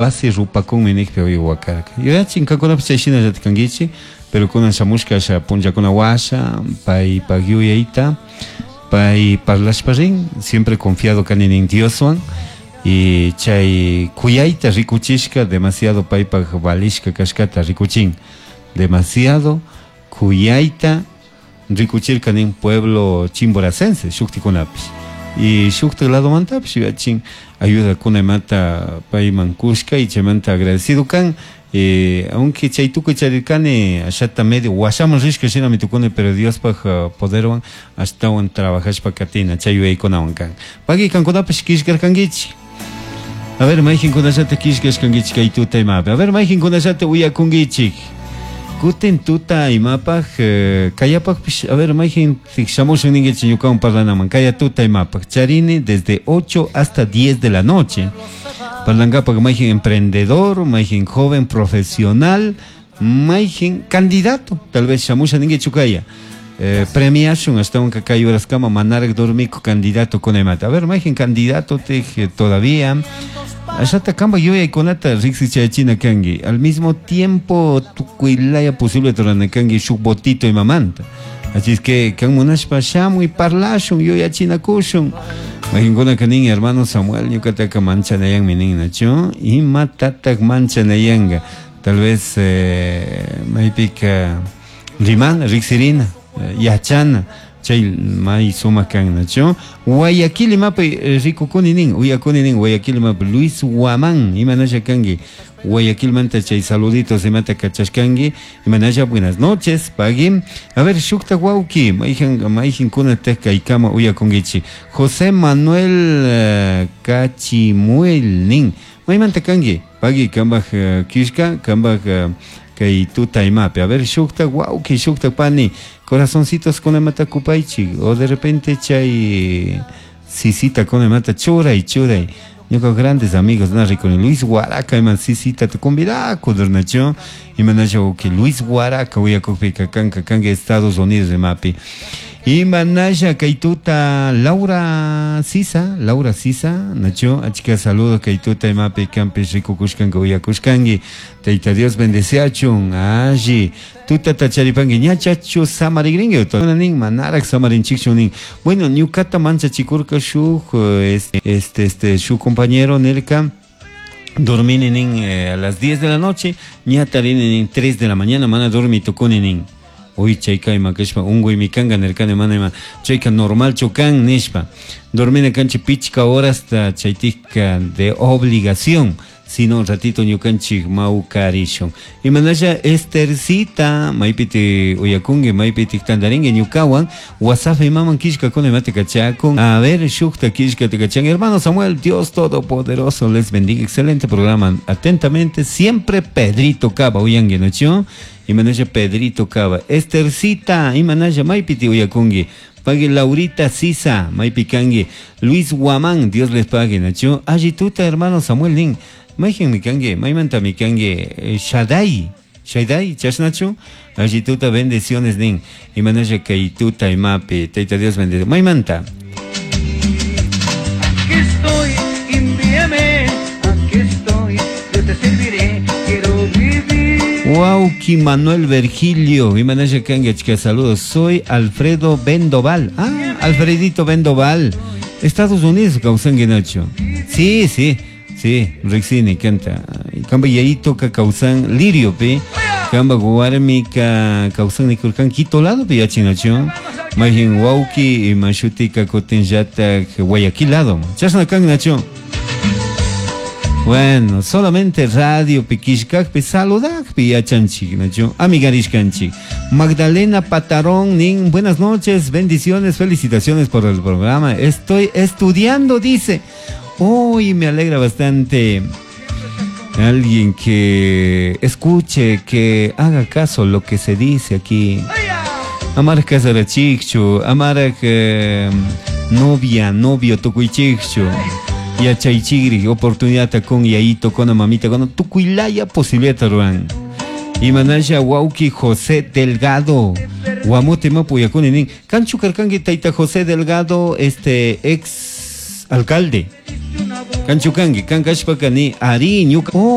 Wasi rupakunmi nijpi uyuwakarka. Yuyachin kankunapish chay shinallatik kankichik, pero kunan shamushka asha punllakuna washa, paypak yuyayta, pay parlashpa rin, siempre confiado kani nin Dioswan, y chay kuyayta rikuchishka demasiado paypak valishka kashkata rikuchin, demasiado kuyayta rikuchirka nin pueblo chimboracense shuktikunapish y shuktik ladomantapish yuyachin ayudakuna imata payman kushka y chaymanta agradecido kan. Aunque chay tukuy charirkani ashata medio washaman rishka shinami tukuni, pero Diospaj poderwan ashtawan trabajashpa katina chay yuyaykunawan kan. Pagui kankunapish killkarkankichik. A ver, mayqinkunallata killkashkankichik kay tuta imapi. A ver, mayqinkunallata uyakunkichik. Kutin tuta imapaj, kayapajpish, a ver, mayqin shamushun ninkichik ñukawan parlanaman. Kaya tuta imapaj. Charini desde 8 hasta 10 de la noche. Parlankapaj mayqin emprendedor, mayqin joven profesional, mayqin candidato. Tal vez shamusha ninkichu kaya. Premiashun ashtawanka kay horaskama manaraq dormiku candidato kunamanta. A ver, mayqin candidato tej todavía. Ashata kamba yuyaykunata riqsichayachina kanki. Al mismo tiempo tukuylaya posible rurana kanki shuk votito imamanta. Así es que kan munashpa shamuy parlashun yuyachinakushun. Mayqinkunaka nin hermano Samuel ñuqataka manchanayanmi nin nachu. Imatataq manchanayanqa. Tal vez maypika rimana, riqsirina, yachana chay may sumaq kan nachu. Guayaquil imapi rikukuni nin, uyakuni nin Guayaquil imapi Luis Guamán, imanasha kanki Guayaquilmanta chay saluditos imata kachashkanki, imanasha buenas noches, pagui. A ver, shukta wawki, mayqin mayqinkunataq kaykama uyakunkichik. José Manuel Cachimuel nin, maymanta kanki, pagui kambaj killka, kambaj kay tuta imapi. A ver, shukta wawki, shukta pani, corazoncitos kunamata kupaychik, o de repente chay sisita kunamata churay, churay. Ñuka grandes amigos na rikuni Luis Guaraca iman sisita te convidaku durnachu, imanasha wawki Luis Guaraca uyakukpika kanka kanka Estados Unidos imapi. Imanasha kay tuta Laura Sisa, Laura Sisa, nachu, achka saludos kay tuta imapi kanpish rikukushkanka uyakushkanki. Tayta Dios bendeciachun, alli. Tutata charipanki ñachachu samarigrinki, nin manaraq samarinchikchu nin. Bueno, ñukata manchachikurka shuk shuk compañero nirka dormini nin a las 10 de la noche, ñatarini nin 3 de la mañana, mana dormi tukuni nin. Uy, chayka ima kashpa unquymi kanka nirkani mana ima chayka normalchu kan nishpa. Dormina kanchik pichka horasta chaytikka de obligación, sino un ratito ñukanchik mawkarishun. Imanasha Estercita, maypiti uyakunki, maypiti tantarinki ñukawan, WhatsApp imaman killkakuna imata kachakun. A ver, shukta killkata kachan. Hermano Samuel, Dios Todopoderoso les bendiga. Excelente programa. Atentamente, siempre Pedrito Cava, uyanki, ¿no? Imanasha Pedrito Cava. Estercita, imanasha maypiti uyakunki. Pague Laurita Sisa, maypi kanki. Luis Guamán, Dios les pague, ¿no? Allituta, hermano Samuel nin. Mayqin mi kanki, maymanta mi kanki, Shaddai, Shaddai, chashnachu, allituta bendiciones nin. Imanasha kay tuta imapi, Tayta Dios bendice. Maymanta. Aquí estoy, envíame, aquí estoy, yo te serviré, quiero vivir. Wauki Manuel Virgilio, imanasha kanki, achka saludos. Soy Alfredo Bendoval. Ah, Alfredito Bendoval. Estados Unidos, kawsanki nacho. Sí, sí. Sí, riqsini kanta. Kamba yayito ka kawsan lirio pi. Kamba warmi ka kawsan nikurkan Quito lado pi yachinachu. Mayqin wawki ima shutika kutinllatak Guayaquil lado. Chashna kan nachu. Bueno, solamente radio pi killkakpi saludakpi yachanchik nachu. Amigarishkanchik. Magdalena Patarón nin, buenas noches, bendiciones, felicitaciones por el programa. Estoy estudiando, dice. Uy, me alegra bastante. Alguien que escuche, que haga caso lo que se dice aquí. Amar casarachichu, amar novia, novio tukuychikchu. Yachaychigri, oportunidad con yayito, con mamita, con tukuylaya posibilidad ruan. Imanasha wawki José Delgado. Guamote mapu yakuni nin. Kanchu karkanki tayta José Delgado, este ex alcalde. Kanchu kanki, kan kashpaka ni ari ñuka.